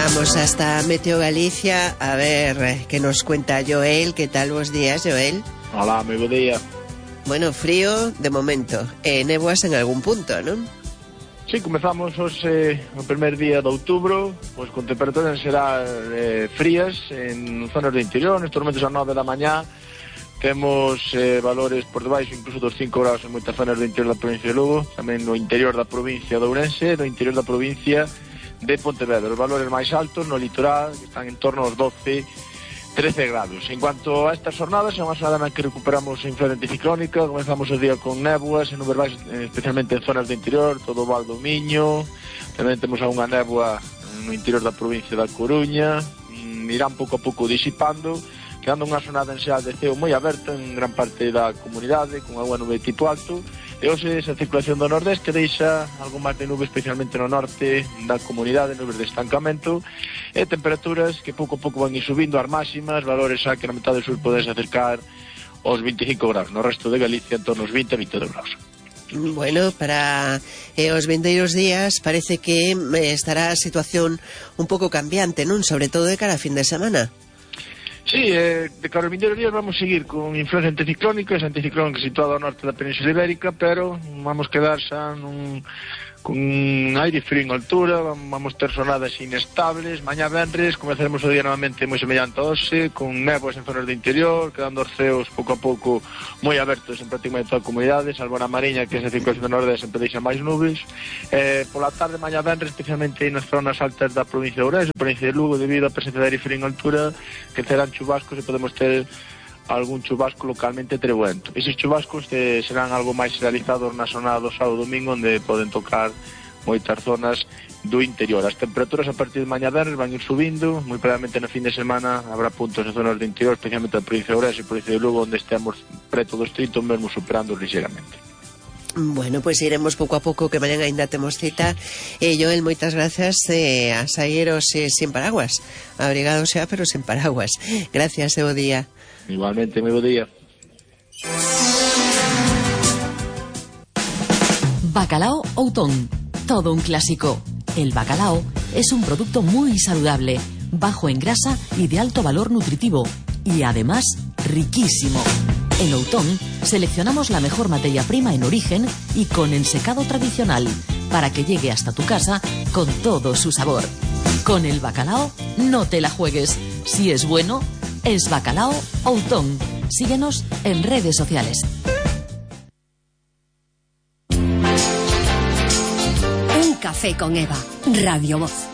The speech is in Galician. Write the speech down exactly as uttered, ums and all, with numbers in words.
Vamos hasta Meteo Galicia a ver qué nos cuenta Joel. ¿Qué tal vos días, Joel? Hola, moi bo día. Bueno, frío de momento, e néboas en algún punto, non? Sí, comezamos hoxe o primer día de outubro, pois con temperaturas será eh, frías en zonas do interior, nestes momentos a nove da mañá. Temos eh, valores por debaixo incluso dos cinco graus en moitas zonas do interior da provincia de Lugo, tamén no interior da provincia de Ourense, no interior da provincia de Pontevedra. Os valores máis altos no litoral, que están en torno aos doce, trece grados. En cuanto a estas jornadas, é unha jornada na que recuperamos a influencia anticiclónica. Comenzamos o día con néboas en nubes baixas, especialmente en zonas do interior, todo o Val do Miño. Tamén temos algunha néboa no interior da provincia da Coruña. Irán pouco a pouco disipando, quedando unha jornada en xeral de ceo moi aberta en gran parte da comunidade, con agua nube tipo alto. E hoxe esa circulación do nordeste deixa algo máis de nube, especialmente no norte da comunidade, nubes de estancamento, e temperaturas que pouco a pouco van ir subindo as máximas, valores xa que na metade do sur podes acercar aos veinticinco graus, no resto de Galicia en torno aos vinte a vinte e dous graus. Bueno, para eh, os vindeiros días parece que eh, estará a situación un pouco cambiante, non? Sobre todo de cara a fin de semana. Sí, eh, de cara aos vindeiros días vamos seguir con influencia anticiclónica, esa anticiclónica situada ao norte da Península Ibérica, pero vamos quedar xa nun, con aire frío en altura, vamos ter sonadas inestables. Mañá venres comezaremos o día novamente moi semellante a hoxe, con néboas en zonas do interior, quedando os ceos pouco a pouco moi abertos en prácticamente toda a comunidade, salvo na Mariña, que esa circulación do nordeste sempre deixa máis nubes. Eh, pola tarde, mañá venres, especialmente nas zonas altas da provincia de Ourense, provincia de Lugo, debido á presencia de aire frío en altura, que serán chubascos e podemos ter algún chubasco localmente trebuento. Eses chubascos eh, serán algo máis realizados na zona do sábado e domingo, onde poden tocar moitas zonas do interior. As temperaturas a partir de mañá venres van ir subindo, moi probablemente na fin de semana habrá puntos en zonas do interior, especialmente a provincia de Ourense e a provincia de Lugo, onde estemos preto dos trinta, mesmo superando ligeramente. Bueno, pois pues iremos pouco a pouco, que mañan ainda temos cita. E eh, Joel, moitas gracias, eh, a saíros eh, sin paraguas, abrigado xa, pero sin paraguas. Gracias, e bo día. Igualmente, moi bo día. Bacalao Outón, todo un clásico. El bacalao es un producto muy saludable, bajo en grasa y de alto valor nutritivo, y además riquísimo. En Outón seleccionamos la mejor materia prima en origen y con ensecado tradicional, para que llegue hasta tu casa con todo su sabor. Con el bacalao no te la juegues. Si es bueno, es Bacalao Outón. Síguenos en redes sociales. Un café con Eva, Radio Voz.